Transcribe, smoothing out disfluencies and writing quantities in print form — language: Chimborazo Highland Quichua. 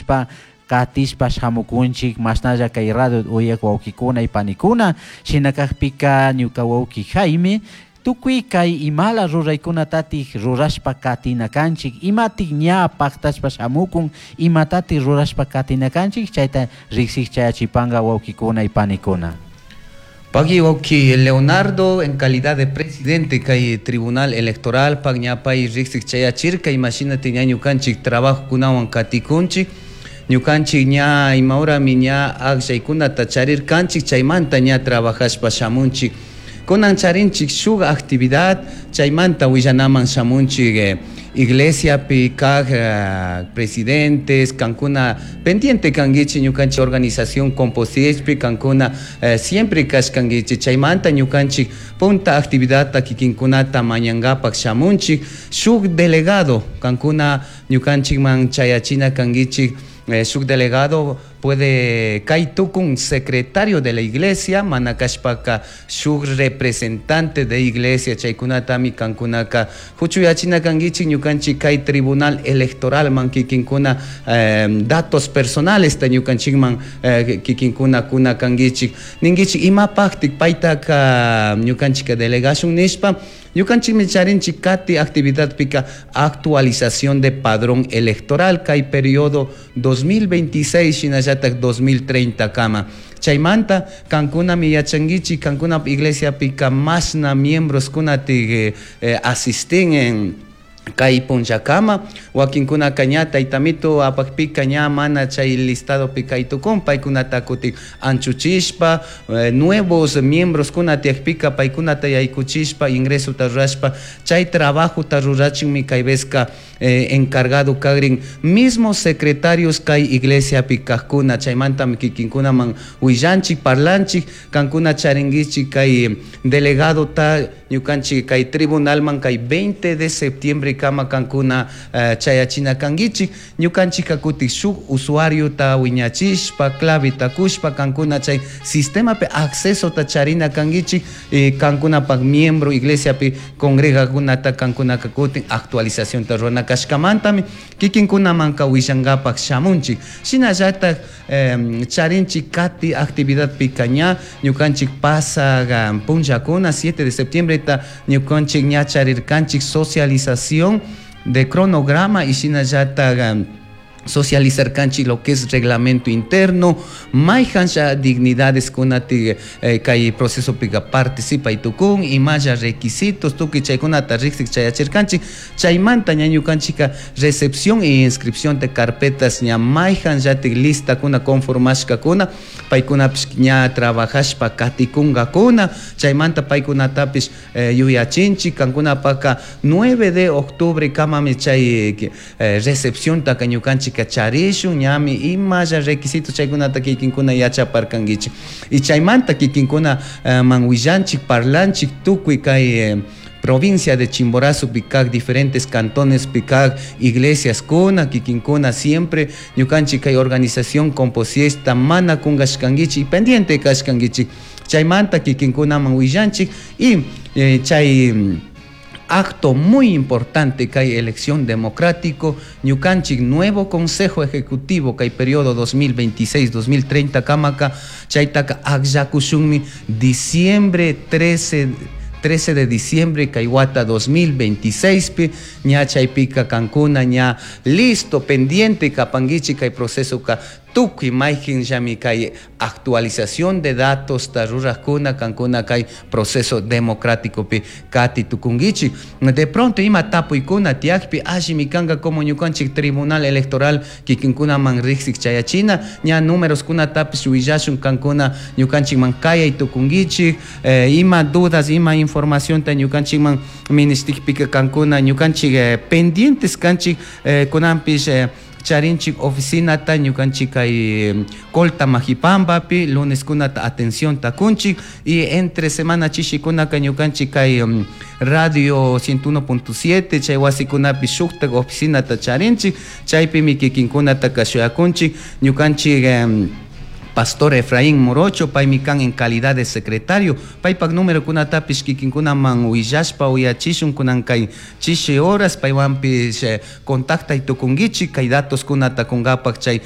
Nishpa katishpa shamukunchik mashnalla kay radio uyak wawkikuna y panikuna. Shina kakpika ñuka wawki Jaime, tukuy kay imala ruraykunatatik rurashpa katina kanchik, imatik ña paktashpa shamukun, imatatik rurashpa katina kanchik, chayta riksik chayachipanga wawkikuna y panikuna. Pagui wawki Leonardo, en calidad de presidente kay Tribunal Electoral pak ñapay riksik chayachirka imashinati ña ñukanchik trabajokunawan katikunchik. Ñukanchik ña imahorami ña akllaykunata charirkanchik, chaymanta ña trabajashpa shamunchik. Kunan charinchik shuk actividad, chaymanta willanaman shamunchik iglesiapi kaj presidentes, kankuna pendiente kankichik ñukanchik organización Composiechpi, kankuna siempre kashkankichik. Chaymanta ñukanchik punta actividadta kikinkunata mañankapak shamunchik. Shuk delegado kankuna ñukanchikman chayachina kankichik. Shuk delegado puede kay tukun secretario de la iglesia, mana kashpaka shuk representante de iglesia, chaykunatami kankunaka huchuyachina kankichik ñukanchik kay Tribunal Electoral man kikinkuna datos personales ta ñukanchikman kikinkuna kuna kankichik. Ninkichik imapaktik paytaka ñukanchika delegashun nishpa. Ñukanchikmi charinchik kati actividadpika actualización de padrón electoral kay periodo 2026 shinallatak 2030 kama. Chaymanta kankunami yachankichik kankuna iglesiapika mashna miembros kunatik asisten en kay punllakama, wakinkunaka ña taytamito apakpika ña mana chay listadopi kay tukun, paykunata kutin anchuchishpa, nuevos miembros kuna tiyakpika paykunata yaykuchishpa ingresota rurashpa chay trabajota rurachinmi kay vezka encargado kagrin mismos secretarios kay iglesiapi kajkuna. Chaymantami kikinkunaman willanchik, parlanchik, kankuna charinkichik kay delegadota ñukanchik kay tribunalman kay 20 de septiembre kama kankuna chayachina kankichik. Ñukanchik kutik shuk usuariota wiñachishpa, claveta kushpa kankuna chay sistemapi accesota charina kankichik, kankunapak miembro iglesiapi congregakunata kankunaka kutin actualizacionta rurana kashkamantami kikinkunamanka willankapak shamunchik. Shinallatak charinchik kati actividadpika ña ñukanchik pasak punllakuna 7 de septiembre ta ñukanchik ña charirkanchik socialización de cronograma y shinallatak socializarkanchik lo que es reglamento interno, mayhansha dignidades kunati kay proceso pika participay tukun, imalla requisitos tukuy chaykunata riksik chayachirkanchik. Chaymanta ña ñukanchika recepción e inscripción de carpetas ña mayhanllatik listakuna conformashkakuna, paykunapish ña trabajashpa katikunkakuna. Chaymanta paykunatapish yuyachinchik kankunapaka 9 de octubre kamami chay recepciontaka ñukanchik charishun, ñami imalla requisitos chaykunata kikinkuna yachaparkankichik. Y chaymanta kikinkuna man willanchik, parlanchik tukuy kay provincia de Chimborazo pikak diferentes cantones pikak iglesias kuna kikinkuna siempre ñukanchik kay organización Composiesta mana kunkashkankichik y pendiente kashkankichik. Chaymanta kikinkunaman willanchik y chay acto muy importante kay elección democrático ñukanchik nuevo consejo ejecutivo kay periodo 2026-2030 kamaka chaytaka akllakushunmi diciembre 13, 13 de diciembre kay wata 2026 pi ña chaypika kankuna ña listo pendiente kapankichik kay proceso ka tukuy mayqinllami kay actualización de datos ta rurajkuna kankuna kay proceso democrático pi kati tukunkichik. De pronto ima tapuykuna tiyakpi allimi kanka como ñukanchik Tribunal Electoral kikinkunaman riksik chayachina ña números kunatapish willashun kankuna ñukanchikman kayay tukunkichik. Ima dudas, ima informacionta ñukanchikman ministikpika kankuna ñukanchik pendientes kanchik. Kunanpish charinchik oficinata ñukanchik kay Colta Majipambapi, lunes kunata atención takunchik y entre semana chishikunaka ñukanchik kay radio 101.7 chay wasikunapi shuktak oficinata charinchik, chaypimi kikinkunata kashuyakunchik ñukanchik Pastor Efraín Morocho, paymi kan en calidad de secretario, paypak número kunatapish kikinkunaman willashpa uyachishun kunan kay chishi horas paywanpish contactay tukunkichik kay datos kunata kunkapak chay.